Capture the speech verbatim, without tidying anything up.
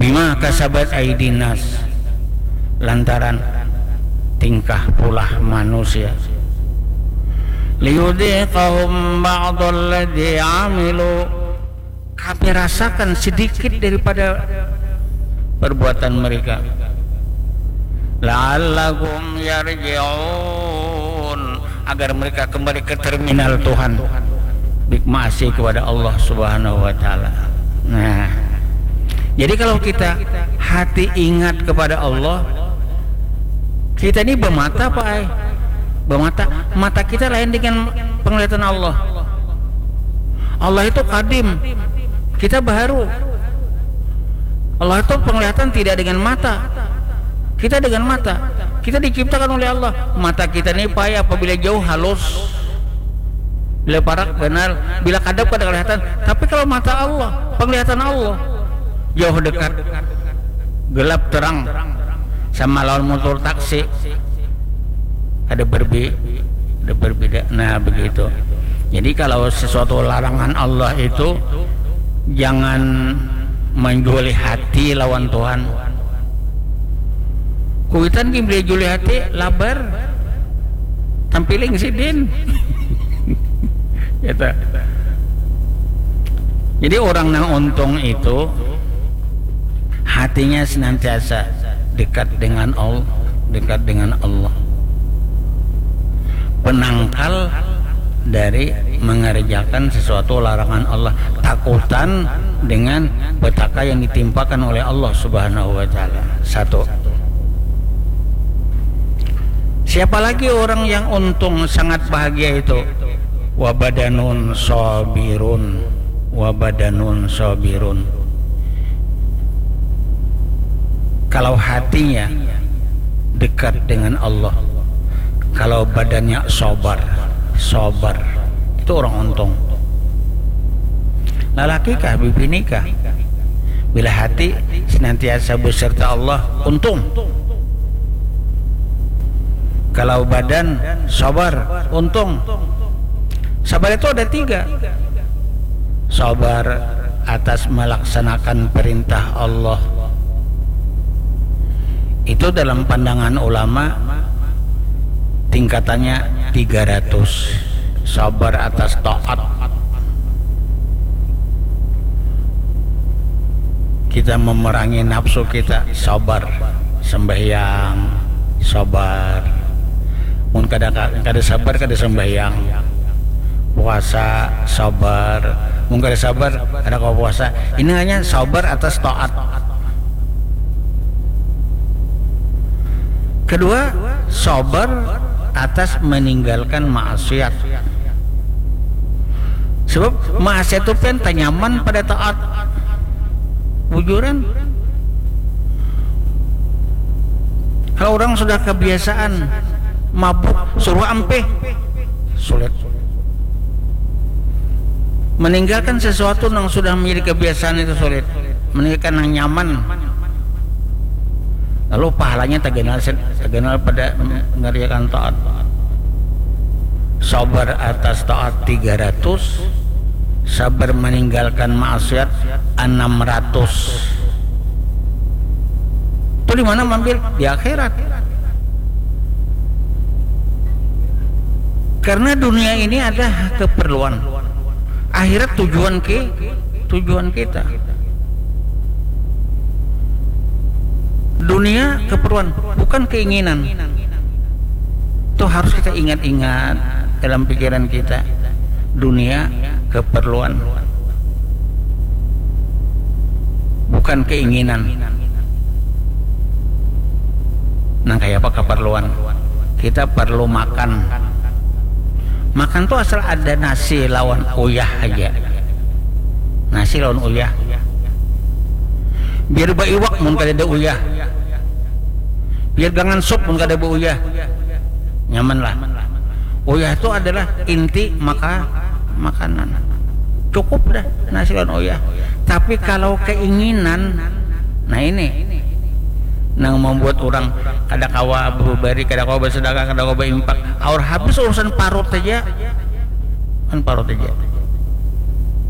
Bima kasabat aidin nas, lantaran tingkah pulah manusia. Liyudhiqahum ba'dalladzi amilu, kami rasakan sedikit daripada perbuatan mereka. La'allahum yarji'un, agar mereka kembali ke terminal Tuhan, bik maasi kepada Allah Subhanahu wa Ta'ala. Nah, jadi kalau kita hati ingat kepada Allah, kita ini bermata, Pak, ai. Bermata, mata kita lain dengan penglihatan Allah. Allah itu kadim, kita baharu. Allah itu penglihatan tidak dengan mata, kita dengan mata. Kita diciptakan oleh Allah. Mata kita ini, Pak, ai, apabila jauh halus, bila parak ganal, bila kadap kada kelihatan. Tapi kalau mata Allah, penglihatan Allah, jauh dekat, gelap terang, sama lawan motor taksi, ada berbi ada berbeda. Nah, begitu. Jadi kalau sesuatu larangan Allah itu, jangan menjuali hati lawan Tuhan. Kuitan gin beli juli hati, labar, tampiling sidin. Gitu. Jadi orang yang untung itu hatinya senantiasa dekat dengan Allah, dekat dengan Allah. Penangkal dari mengerjakan sesuatu larangan Allah, takutan dengan petaka yang ditimpakan oleh Allah Subhanahu wa Ta'ala. Satu. Siapa lagi orang yang untung, sangat bahagia itu? Wabadanun sabirun, wabadanun sabirun. Kalau hatinya dekat dengan Allah, kalau badannya sabar, sabar, itu orang untung. Lalaki kah, bibini kah? Bila hati senantiasa beserta Allah, untung. Kalau badan sabar, untung. Sabar itu ada tiga. Sabar atas melaksanakan perintah Allah. Itu dalam pandangan ulama tingkatannya tiga ratus. Sabar atas taat. Kita memerangi nafsu kita, sabar. Sembahyang, sabar. Mun kada, kada sabar, kada sembahyang. Puasa, sabar. Mun kada sabar, kada kawa puasa. Ini namanya sabar atas taat. Kedua, sabar atas meninggalkan maksiat. Sebab maksiat tu pian tanyaman pada taat. Bujuran. Kalau orang sudah kebiasaan mabuk, suruh ampih, sulit. Meninggalkan sesuatu yang sudah menjadi kebiasaan itu sulit. Meninggalkan yang nyaman. Lalu pahalanya taganal, taganal pada mengerjakan taat. Sabar atas taat tiga ratus, sabar meninggalkan maksiat enam ratus. Itu di mana mambil? Di akhirat. Karena dunia ini ada keperluan. Akhirat tujuan ke tujuan kita. Dunia keperluan, bukan keinginan. Itu harus kita ingat-ingat dalam pikiran kita. Dunia keperluan, bukan keinginan. Nang kaya apa keperluan? Kita perlu makan. Makan tuh asal ada nasi lawan uyah aja. Nasi lawan uyah. Biar baiwak mun kada ada uyah. Biar gangan sup mun kada ada uyah. Nyaman lah. Uyah itu adalah inti maka makanan. Cukup dah nasi lawan uyah. Tapi kalau keinginan, nah ini nang membuat orang kada kawa berubari, kada kawa bersedekah, kada kawa berimpak. Aur habis urusan parut aja, kan parut aja.